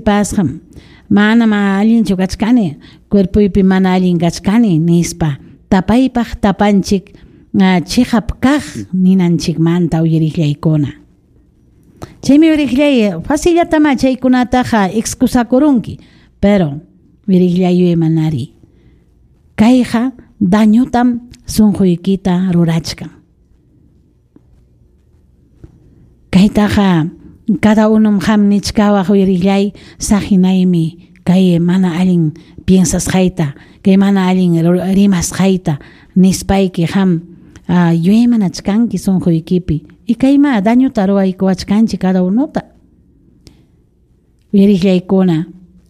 Gripasqam, manam allinchu kachkani, cuerpoypi mana allin kachkani nispa. Tapaypaq tapanchik chiqap kaq ninanchikmanta uyariqllaykuna. Chaymi uyariqllay facillatama chaykunataqa excusakurunki, pero uyariqllay yuyaymanari. Kayqa dañotam sunquykita rurachkan. Kaytaqa cada unum qam nichkawaq uyariqllay saqinaymi kay mana allin piensasqayta, kay mana allin rimasqayta nispayki qam yuyaymanachkanki sunquykipi. Y kayma dañota ruwaykuwachkanchik cada unuta. Uyariqllaykuna,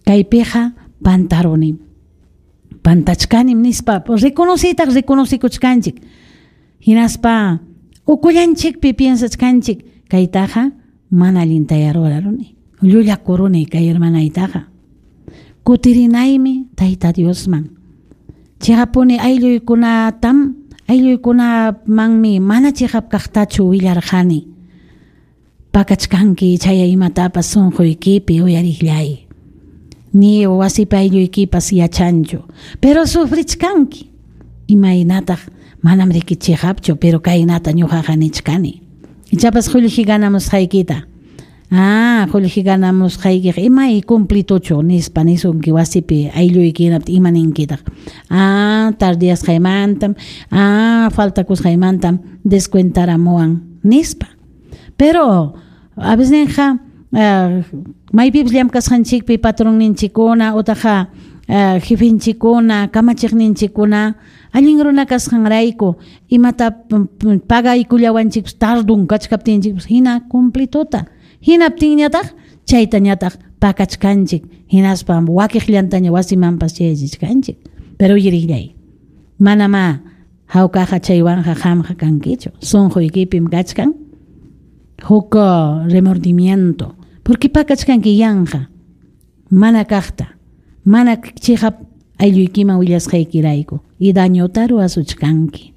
kaypiqa pantarunim. Pantachkanim nispa reconocitaq reconocikuchkanchik. Hinaspa ukullanchikpi piensachkanchik kaytaqa mana allintaya ruraruni. Llullakuruni kay hermanaytaqa. Kutirinaymi Tayta Diosman. Chiqapuni aylluykunatam aylluykunamanmi mana chiqap kaqtachu willarqani. Pakachkanki chaya imatapas sunquykipi uyariqllay. Ni wasipi aylluykipas yachanchu, pero sufrichkanki. Imaynataq manam riki chiqapchu, pero kaynata ñuqaqa nichkani. Ichapas qullqi ganamusqaykita. Ah, qullqi ganamusqaykiqa imay cumplituchu nispa nisunki wasipi aylluyki hinaptin ima ninkitaq. Ah, tardiyasqaymantam, ah, faltakusqaymantam descuentaramuwan nispa. Pero a veces maypipas llamkasqanchikpi patronninchikkuna utaqa jefenchikkuna, kamachiqninchikkuna allin runa kasqanrayku imata pagaykullawanchikpas tardun kachkaptinchikpas hina cumplituta. Hinaptinñataq chaytañataq pakachkanchik hinaspa wakiqllantaña wasimanpas chayachichkanchik. Pero uyariqllay, manamá hawkaqa chaywanqa qamqa kankichu. Sunquykipim kachkan huk remordimiento. Porque pakachkanki yanqa mana kaqta, mana chiqap aylluykiman willasqaykirayku y dañota ruwasuchkanki.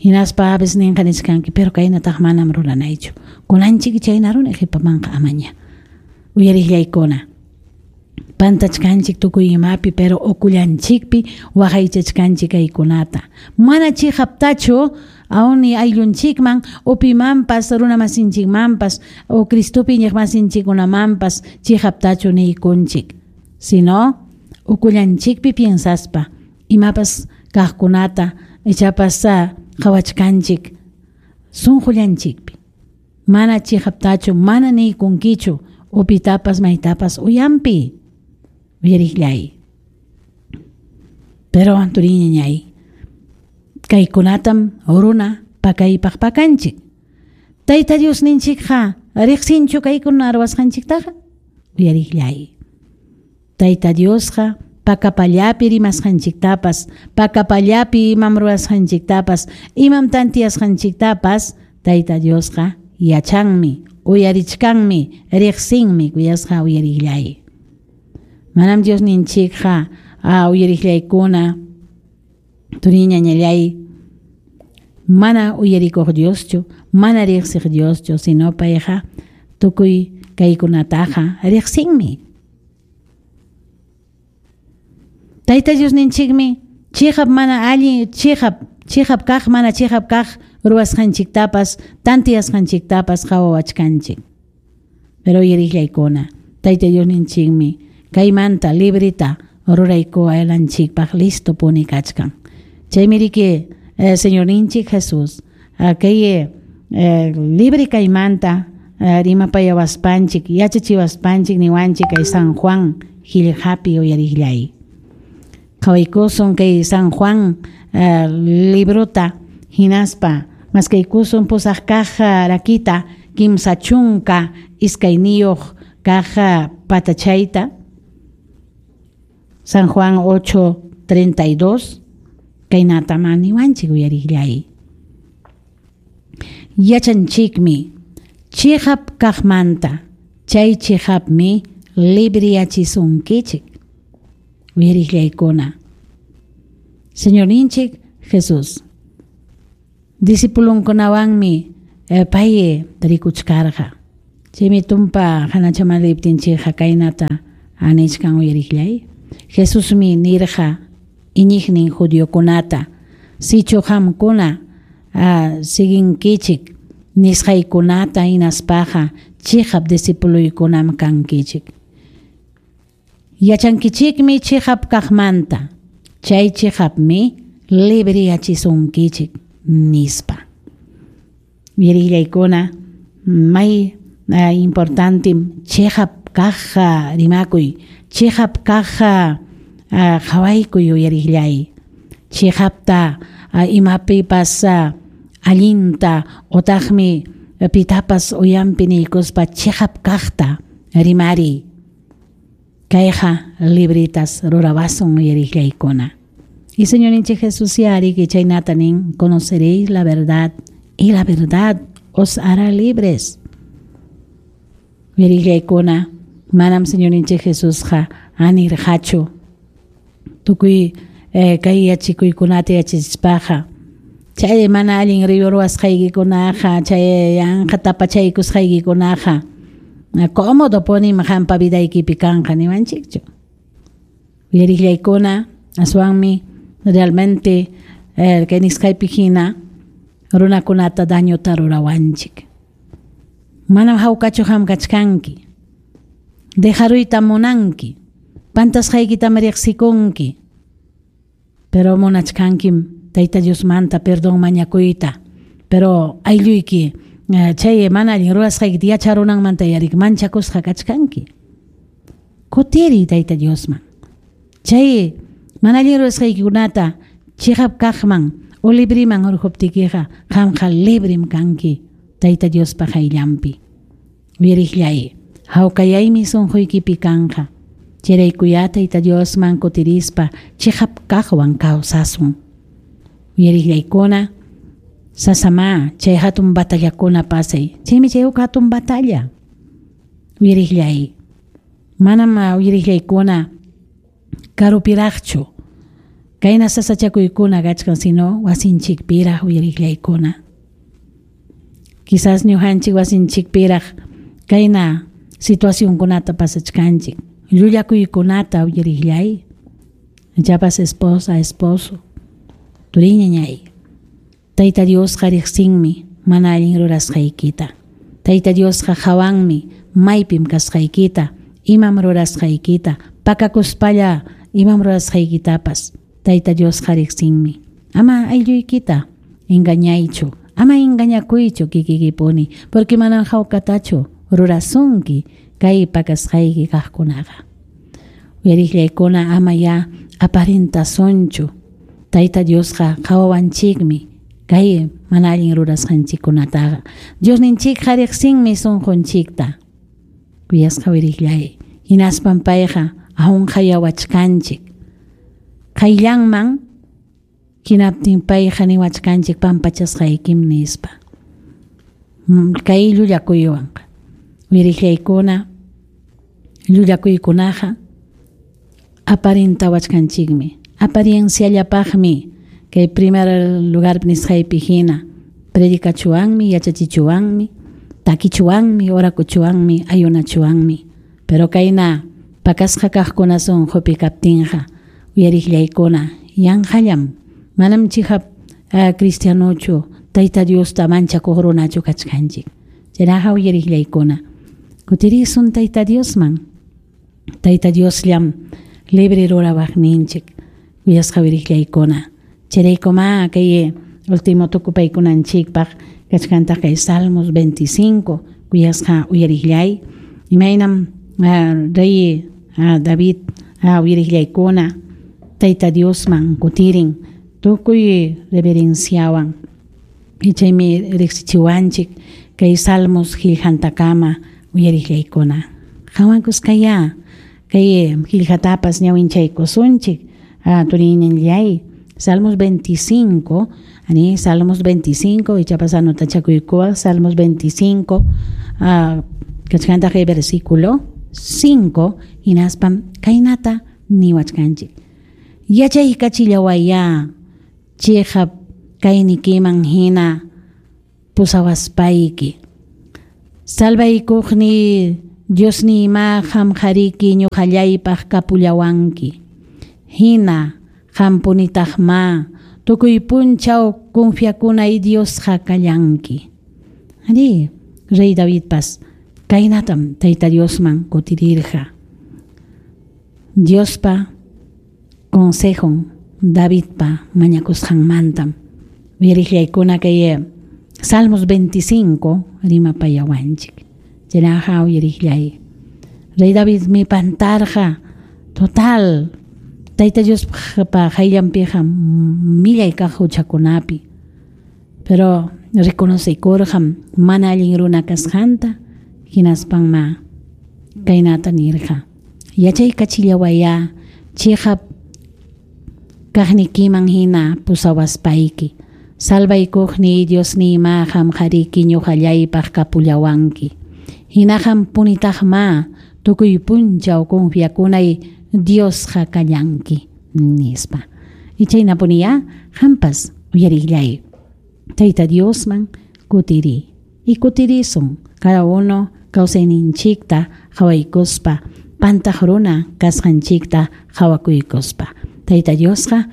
Hinaspa a veces ninqa nichkanki, pero kaynataq manam ruranaychu. Kunanchik chayna runa qhipamanqa amaña. Uyariqllaykuna. Pantachkanchik tukuy imapi, pero ukullanchikpi waqaychachkanchik kaykunata. Mana chiqaptachu awni ayllunchikman upimanpas runamasinchikmanpas o Cristopi iñiqmasinchikkunamanpas chiqaptachu niykunchik. Sino ukullanchikpi piensaspa imapas kaqkunata ichapas qhawachkanchik sunqullanchikpi. Mana chiqaptachu mana niykunkichu upitapas maytapas uyampi. Uyariqllay. Pero turiñañay, kaykunatam runa pakaypaq pakanchik. Tayta Diosninchikqa riqsinchu kaykuna ruwasqanchiktaqa? Uyariqllay. Tayta Diosqa pakapallapi rimasqanchiktapas, pakapallapi imam ruwasqanchiktapas, imam tantiyasqanchiktapas Tayta Diosqa yachanmi, uyarichkanmi, riqsinmi kuyasqa uyariqllay. Manam Diosninchikqa uyariqllaykuna turiñañallay mana uyarikuq Dioschu, mana riqsiq Dioschu, sino payqa tukuy kaykunataqa riqsinmi. Tayta Diosninchikmi chiqap mana allin chiqap chiqap kaq mana chiqap kaq ruwasqanchiktapas tantiyasqanchiktapas qhawawachkanchik. Pero uyariqllaykuna, Tayta Diosninchikmi kaymanta librita ruraykuwananchikpaq listo puni kachkan. Chaymi riki Señorninchik Jesús kay libre kaymanta rimapayawaspanchik yachachiwaspanchik niwanchik kay San Juan qillqapi uyariqllay. Qhawaykusun kay San Juan librota hinaspa maskaykusun pusaq kaq rakita 32 kaq patachayta. San Juan 8:32 kaynata maniwanchik uyariqllay. Yachanchikmi chiqap kaqmanta chay chiqapmi libriyachisunkichik. Uyariqllaykuna. Señorninchik Jesús discipulunkunawanmi pay tarikuchkarqa. Chaymi tumpa hanachaman liptinchikqa kaynata anichkan uyariqllay. Jesusmi nirqa iñiqnin judiokunata, sichu qamkuna siguinkichik nisqaykunata hinaspaqa chiqap discipuluykunam kankichik. Yachankichikmi chiqap kaqmanta, chay chiqapmi libriyachisunkichik, nispa. Uyariqllaykuna, may importantem chiqap kaqqa rimakuy, chiqap kaqqa qhawaykuy uyariqllay, chiqapta imapipas allinta otaqmi pitapas uyampi niykuspa chiqap kaqta rimariy. Kayqa libritas rurawasun uyariqllaykuna. Y Señorninchik Jesús ya ariki chaynata nin, conoceréis la verdad y la verdad os hará libres. Uyariqllaykuna, manam Señorninchik Jesusqa anirqachu tukuy kay yachikuykunata yachachispaqa chay mana allin ruwasqaykikunaqa, chay yanqa tapachaykusqaykikunaqa cómodo punim qampa vidaykipi kanqa niwanchikchu. Uyariqllaykuna, aswanmi realmente kay nisqaypi hina runakunata dañota rurawanchik. Manam hawkachu qam kachkanki, dejaruyta munanki, pantasqaykitam riqsikunki, pero munachkankim Tayta Diosmanta perdón mañakuyta, pero aylluyki chay mana allin ruwasqaykita yacharunanmanta yarik manchakusqa kachkanki. Kutiriy Tayta Diosman. Chay mana allin ruwasqaykikunata chiqap kaqman o libriman hurquptikiqa qamqa librim kanki Tayta Diospa qayllanpi. Uyariqllay, hawkayaymi sunquykipi kanqa. Chayraykuyá Tayta Diosman kutirispa chiqap kaqwan kawsasun. Uyariqllaykuna, sasama chay hatun batallakuna pasay. Chaymi chay huk hatun batalla. Uyariqllay, manam uyariqllaykuna karupiraqchu kayna sasachakuykuna kachkan, sino wasinchikpiraq uyariqllaykuna. Quizás ñuqanchik wasinchikpiraq kayna situacionkunata pasachkanchik, llullakuykunata uyariqllay, ichapas esposa, esposo, turiñañay. Tayta Diosqa riqsinmi mana allin rurasqaykita. Tayta Diosqa hawanmi maypim kasqaykita, imam rurasqaykita, pakakuspalla imam rurasqaykitapas. Tayta Diosqa riqsinmi. Ama aylluykita engañaychu, ama engañakuychu kikikipuni, porque manam hawkatachu rurasunki kay pakasqayki kaqkunaqa. Uyariqllaykuna, ama ya aparentasunchu. Tayta Diosqa qawawanchikmi kay mana allin rurasqanchikkunataqa. Diosninchikqa riqsinmi sunqunchikta. Kuyasqa uyariqllay, hinaspam payqa aunqayawachkanchik. Qayllanman hinaptin payqa niwachkanchik pampachasqaykim nispa. Kay llullakuywanqa. Uyariqllaykuna, llullakuykunaqa aparentawachkanchikmi. Aparienciallapaqmi kay primer lugar nisqaypi hina predicachuwanmi, yachachichuwanmi, takichuwanmi, orakuchuwanmi, ayunachuwanmi. Pero kayna pakasqa kaqkuna sunqupi kaptinqa uyariqllaykuna yanqallam, manam chiqap cristianochu, Tayta Diosta manchakuq runachu kachkanchik. Chaynaqa uyariqllaykuna, kutirisun Tayta Diosman. Tayta Diosllam libre rurawaqninchik. Kuyasqa uyariqllaykuna, chayraykuma kay último tukupaykunanchikpaq kachkantaq kay Salmos 25, kuyasqa uyariqllay, imaynam rey David uyariqllaykuna Tayta Diosman kutirin tukuy reverenciawan. Chaymi riqsichiwanchik kay Salmos qillqantakama uyariqllaykuna. Qhawankusqayá kay qillqatapas ñawinchaykusunchik turiñanllay. Salmos 25, ani Salmos 25, ichapas anotachakuykuwaq Salmos 25, kachkantaq kay versículo 5, hinaspam kaynata niwachkanchik. Yachaykachillawayá chiqap kaynikiman hina pusawaspayki. Salvaykuqni Diosniyma qamqariki ñuqallaypaq kapullawanki. Hina qampunitaqma tukuy punchaw confiakunay Diosqa kallanki. Ari, Rey Davidpas kaynatam Tayta Diosman kutirirqa. Diospa consejon Davidpa mañakusqanmantam. Uyariqllaykuna kay Salmos 25 rimapayawanchik. Chaynaqa uyariqllay. Rey Davidmi pantarqa total Tayta Diospa qayllanpiqa millay kaq huchakunapi. Pero reconoceykurqam mana allin runa kasqanta hinaspanma kaynata nirqa. Yachaykachillawayá chiqap kaqnikiman hina pusawaspayki. Salvaykuqni Diosniyma qamqariki ñuqallaypaq kapullawanki. Hina qampunitaqma tukuy punchaw confiakunay Diosqa kallanki nispa. Y chaynapuniyá qampas uyariqllay. Tayta Diosman kutiri. Y kutirisun cada uno kawsayninchikta qhawaykuspa pantaq runa kasqanchikta qhawakuykuspa. Tayta Diosqa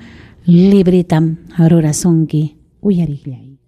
libritam rurasunki uyariqllay.